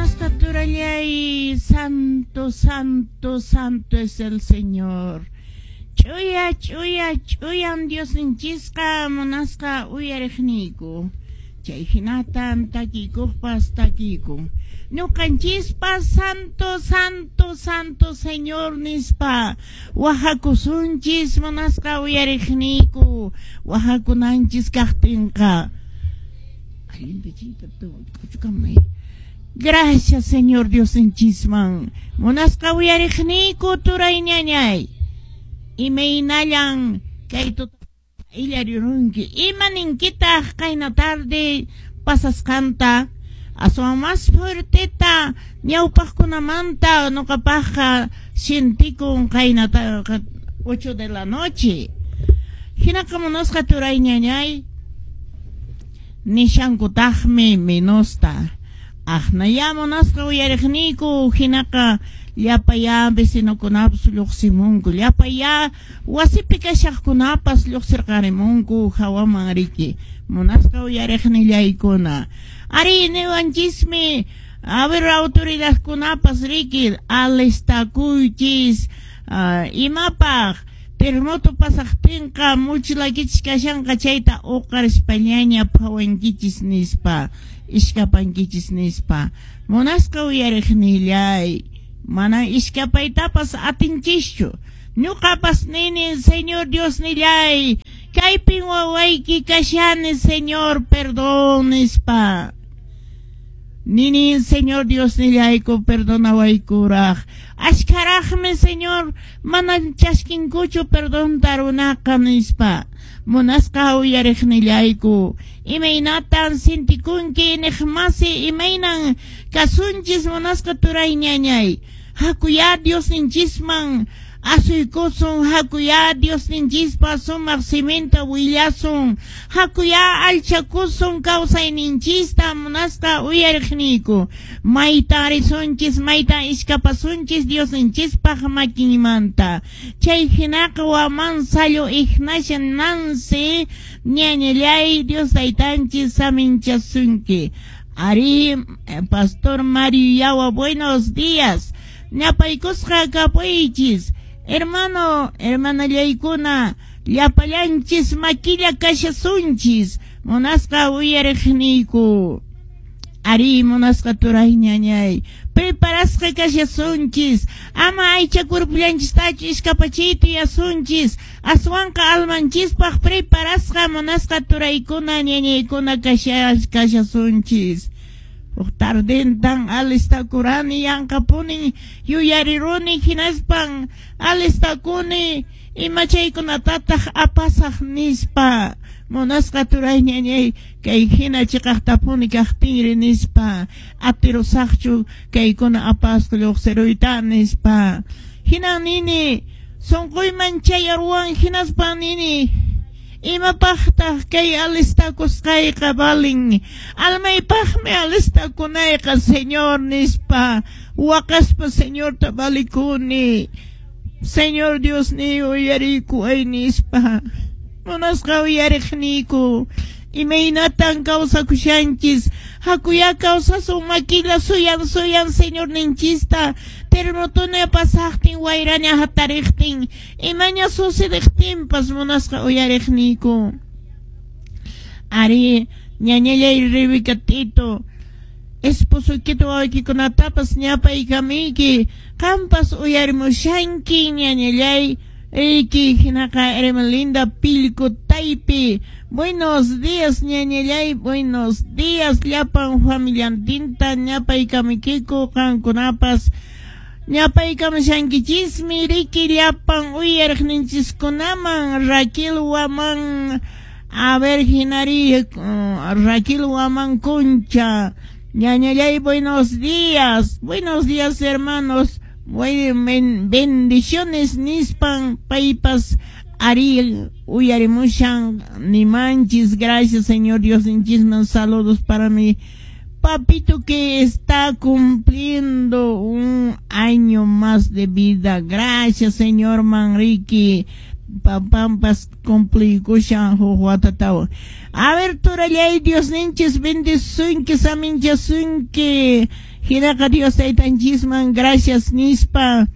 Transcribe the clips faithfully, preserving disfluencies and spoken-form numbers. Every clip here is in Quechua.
Munasqa turallay, santo, santo, santo es el Señor. Ch'uya, ch'uya, ch'uyan Diosninchisqa munasqa uyariqniyku. Chay hinatan takikuqpas takikun. Ñuqanchispas santo, santo, santo Señor nispa wahakusunchis munasqa uyariqniyku wahakunanchis kaqtinqa. Gracias, Señor Diosninchisman. Munasqa uyariqniyku turay ñañay. Imaynallan kay illarirunki. Ima ninkitaq qayna tarde pasasqanta. Aswan más fuerteta ñawpaqkunamanta nuqapaqqa sientikun qayna ocho de la noche. Hinaqa munasqa turay ñañay. Nishankutaqmi menosta. Aqnaya munasqa uyariqniyku hinaqa llapaya vecinokunapas lluqsimunku, llapaya wasipi kashaqkunapas lluqsirqarimunku hawaman riki. Munasqa uyariqnillaykuna. Ari niwanchismi, a ver autoridadkunapas riki alistakuychis uh, imapaq terremoto pasaqtinqa muchilakichis kashanqa chayta uqarispañaña phawankichis nispa, iskapankichis nispa. Munasqa uyariqnillay, mana iskapaytapas atinchischu. Ñuqapas nini, Señor Dios nillay, kaypin wawayki kashani, Señor, perdón nispa. Nini, Señor Dios nillayku, perdonawaykuraq. Ashkaraqmi, Señor, mana chaskinkuchu perdón tarunaqa nispa. Munasqa uyariqnillayku. Imaynatan sintikunki niqmasi, imaynan kasunchis munasqa turay ñañay. Hakuya Diosninchisman asuykusun, hakuya Diosninchispa sumaq siminta willasun, hakuya alchakusun kawsayninchista munasqa uyariqniyku. Mayta risunchis, mayta iskapasunchis Diosninchispaq makinmanta. Chay hinaqa waman sallo Ignacia Nancy ñañallay Dios taytanchis saminchasunki. Ari, Pastor Mario Yawa, buenos días. Ñapaykusqa kapuychis. Hermano, hermanallaykuna, llapallanchis makilla kashasunchis, munasqa uyariqniyku. Ari, munasqa turay ñañay, preparasqa kashasunchis, ama aycha kurpullanchistachu iskapachiyta yasunchis, aswanqa almanchispaq preparasqa munasqa turaykuna ñañaykuna kashasunchis. Huk tardentan alistakurani yanqapuni yuyariruni hinaspan alistakuni imachaykunatataq apasaq nispa. Munasqa turay ñañay kay hina chiqaqtapuni kaqtinri nispa, atirusaqchu kaykuna apasqa lluqsiruyta nispa. Hinan nini sunquyman chayarwan hinaspan nini imapaqtaq kay alistakusqayqa valin, almaypaqmi alistakunayqa Señor nispa. Waqaspa Señorta valikuni, Señor Dios ni uyarikuway nispa. Munasqa uyariqniyku, imaynatan kawsakushanchis, hakuya kawsasun makilla suyan suyan Señor ninchista, terremotoña pasaqtin wayraña hatariqtin, imaña sucediqtinpas munasqa uyariqniyku. Ari, ñañallay Rebeca Tito, esposoykita wawaykikunatapas ñapaykamiyki, qampas uyarimushanki ñañallay. Eki hinaqa Hermelinda Pilco Taypi. Buenos días ñañallay, buenos días llapan familiantinta ñapaykamiykiku qankunapas ñapaykamushankichismi riki llapan uyariqninchiskunaman. Raquel Waman, a ver hinari, uh, Raquel Waman Concha, ñañallay, buenos días, buenos días hermanos. Bueno, bendiciones nispan paypas ari uyarimushan nimanchis. Gracias Señor Dios ninchisman. Saludos para mi papito que está cumpliendo un año más de vida. Gracias Señor Manrique. Papampas cumplikushan huk watatawa. A ver turallay Dios ninchis bendisunki saminchasunki. Hinaqa Dios taytanchisman gracias nispa,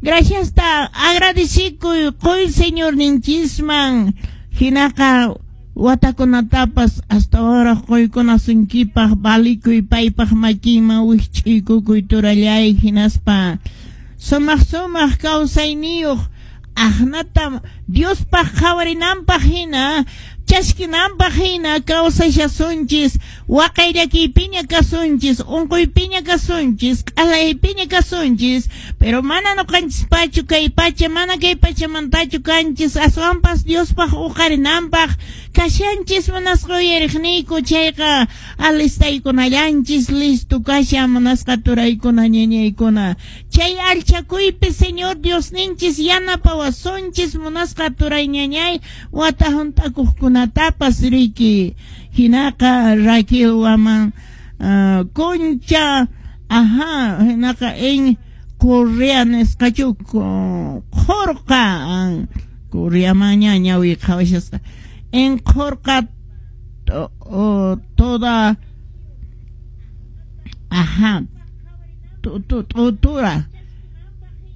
gracias ta agradecikuy qoy Señorninchisman. Hinaqa watakunatapas astawanraq qoykunasunkipaq valikuy paypaq makinman wikch'uykukuy turallay, hinaspa sumaq sumaq kawsayniyuq aqnata Diospaq qhawarinanpaq hina chashkinanpaq hina kawsashasunchis, waqay llakiypiña kasunchis, unquypiña kasunchis, q'alaypiña kasunchis, pero mana nuqanchispachu kay pacha, mana kay pachamantachu kanchis, aswanpas Diospaq uqarinanpaq kashanchis munasqa uyariqniyku. Chayqa alistaykunallanchis, listo kashan munasqa turaykuna ñañaykuna. Chay alchakuypi Señor Diosninchis yanapawasunchis munasqa turay ñañay wata hunt'akuqkunatapas riki. Hinaqa Raquel Waman uh, Concha, ajá, hinaqa en Correa nisqachu Qhurqa, Correamaña ñawi qhawashasqa en Qhurqa toda, ajá, tutura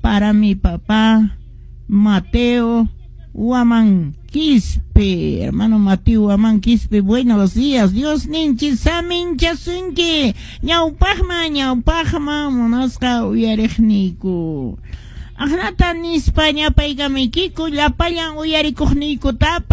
para mi papá Mateo Huamán Quispe, hermano Mateo Huamán Quispe, buenos días, Dios ninchis saminchasunki, ñawpaqman ñawpaqman munasqa uyariqniyku. Aqnata nispa ñapaykamiykiku llapallan uyarikuqniykutapa.